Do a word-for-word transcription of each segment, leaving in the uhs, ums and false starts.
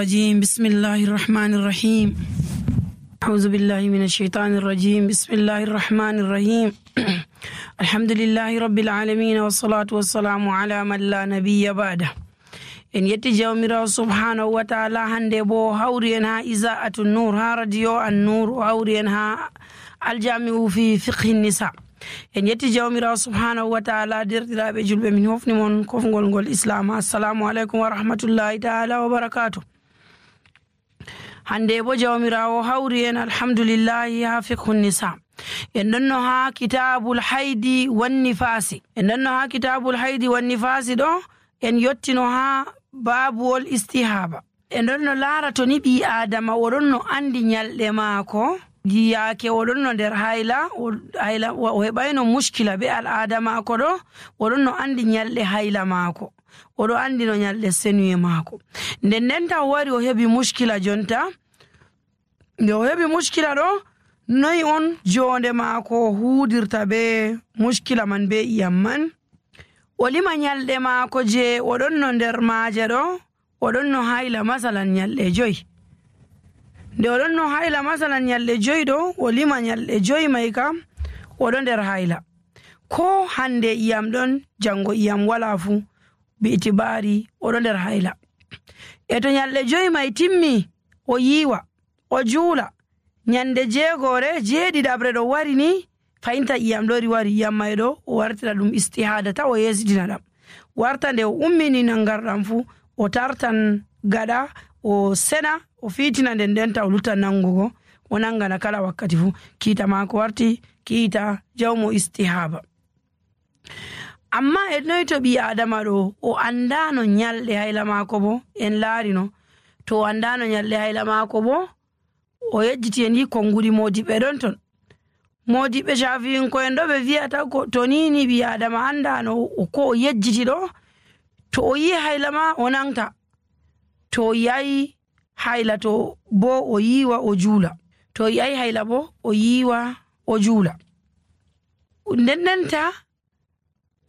الرجيم بسم الله الرحمن الرحيم أعوذ بالله من الشيطان الرجيم بسم الله الرحمن الرحيم الحمد لله رب العالمين والصلاة والسلام على من لا نبي بعده. En yetti jawmirawo subhanahu wa ta'ala hande bo hawri en ha Iza'atu Nur ha radio An Nur hawri en ha aljami'u fi fiqhi nisa. En yetti jawmirawo subhanahu wa ta'ala derdiraaɓe julɓe min hofni mon kofgol ngol islam. Assalamu alaikum wa rahmatullahi ta'ala wa barakatuh. Hande bo jawmirawo hawri en alhamdulillahi ha fiqhu nisa. En donno ha kitabul haidi wan nifasi. En donno ha kitabul haidi wan nifasi do en yottino ha babuwol istihaba. En donno lara to ni ɓi adama oɗon no andi nyalɗe maako yiyake oɗon no nder hayla hayla o heɓayno muskila be al'ada maako ɗo oɗon no andi nyalɗe hayla maako oɗo andi no nyalɗe senuye maako. Nden nden ta o wari o heɓi muskila jonta nde o heɓi muskila ɗo noyi on jonde maako huudirta be muskila man be iyam man. O lima nyalɗe maako je oɗon no nder maaje ɗo oɗon no hayla masalan nyalɗe joyi. Nde oɗon no hayla masalan nyalɗe joyi ɗo o lima nyalɗe joyi mai kam oɗo nder hayla. Ko hande iyam ɗon jango iyam wala fu bi itibari oɗo nder hayla. E to nyalɗe joyi mai timmi o yiwa o juula nyande jeegore jeeɗiɗaɓre ɗo wari ni fayinta iyam ɗori wari iyam mai ɗo o wartira ɗum istihada ta o yesitina ɗam warta nde o ummini nangarɗam fu o tartan gaɗa o sena o fitina nden ndenta o lutan nangugo o nangana kala wakkati fu kiita mako warti kiita jawmo istihaba. Amma e noy to ɓi adama ɗo o andano nyalɗe hayla mako bo en laarino to o andano nyalɗe hayla mako bo o yejjiti en yi konngudi modiɓe ɗon ton. Modiɓe shafi'inko en ɗo ɓe wiyata ko to nini ɓi adama andano ko o yejjiti ɗo to o yi hayla ma o nangta to o yayi hayla to bo o yiwa o juula to o yayi hayla bo o yiwa o juula. Nden ndenta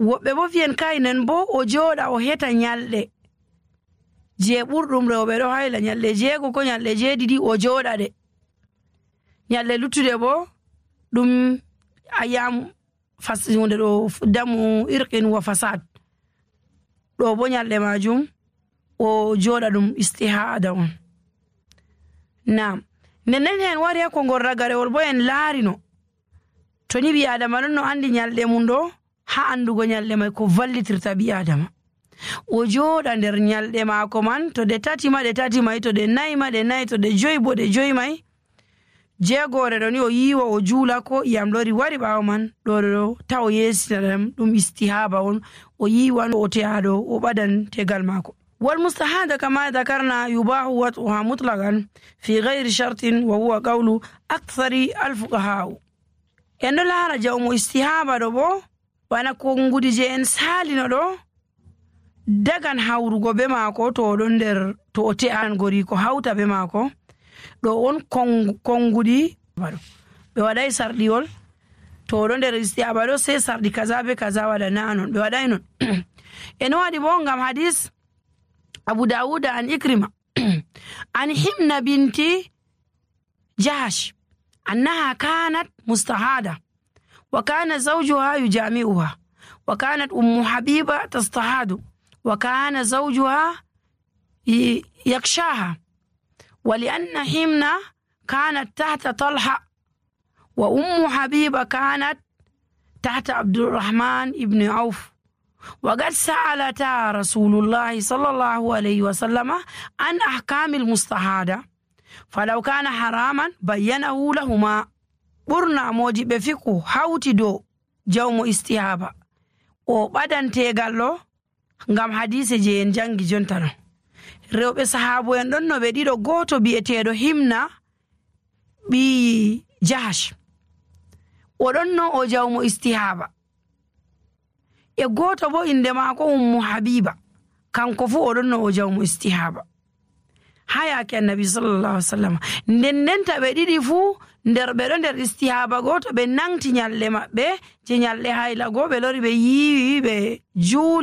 woɓɓe bo fiyen kaynen bo o jooɗa o heta nyalɗe je ɓurɗum rewɓe ɗo hayla nyalɗe jeego ko nyalɗe jeeɗiɗi o jooɗa ɗe nyalɗe luttude bo ɗum ayam hunde ɗo damu irqin wa fasad ɗo bo nyalɗe majum o jooɗa ɗum istihada on. Naam nden nden hen wari ha kongol ragarewol bo en laarino to ni ɓi adama ɗon no andi nyalɗe mum ɗo ha andugo nyalɗe mai ko vallitirta ɓi adama o jooɗa nder nyalɗe maako man to ɗe tati ma ɗe tati mai to ɗe nayi ma ɗe nayi to ɗe joyi bo ɗe joyi mai jeegore ɗo ni o yiwa o juula ko iyam lori wari ɓaawo man ɗo ɗo ta o yesitina ɗam ɗum istihaba on o yiwan o teyaɗo o ɓadan tegal maako. wal mustahada kama dhakarna yubahu wat'uha mutlaqan fi ghayri shartin wa huwa qawlu akthari alfuqaha. En ɗo laara jawmo istihaba ɗo bo bana konngudi je en salino ɗo dagan hawrugo be maako to oɗon nder to o te'an gori ko hawta be maako ɗo on konngudi ɓe waɗay sarɗiwol to oɗo nder istihaba ɗo sei sarɗi kaza be kaza waɗa na non ɓe waɗay non. En waɗi bo ngam hadis Abu Dawud an Ikrima an Himna binti Jahash annaha kanat mustahada wa kana zawjuha yujami'uha wa kanat ummu Habiba tastahadu wa kana zawjuha yakshaha ولأن حمنا كانت تحت طلحة وأم حبيبة كانت تحت عبد الرحمن ابن عوف وقد سألتا رسول الله صلى الله عليه وسلم عن أحكام المستحادة فلو كان حراما بينه لهما برنا موجب فيكو حوتي دو جوم استيهابا وبدن تيغالو ngam hadise je en jangi jontano rewɓe sahabo en ɗon no ɓe ɗiɗo goto bi'eteɗo Himna ɓi Jahash oɗon no o jawmo istihaba e goto bo inde maako ummu Habiba kanko fu oɗon no o jawmo istihaba ha yake annabi sallallahu alaihi wasallam. nden ndenta ɓe ɗiɗi fu nder ɓe ɗo nder istihaba goto ɓe nangti nyalɗe maɓɓe je nyalɗe hayla go ɓe lori ɓe yiwi ɓe juuli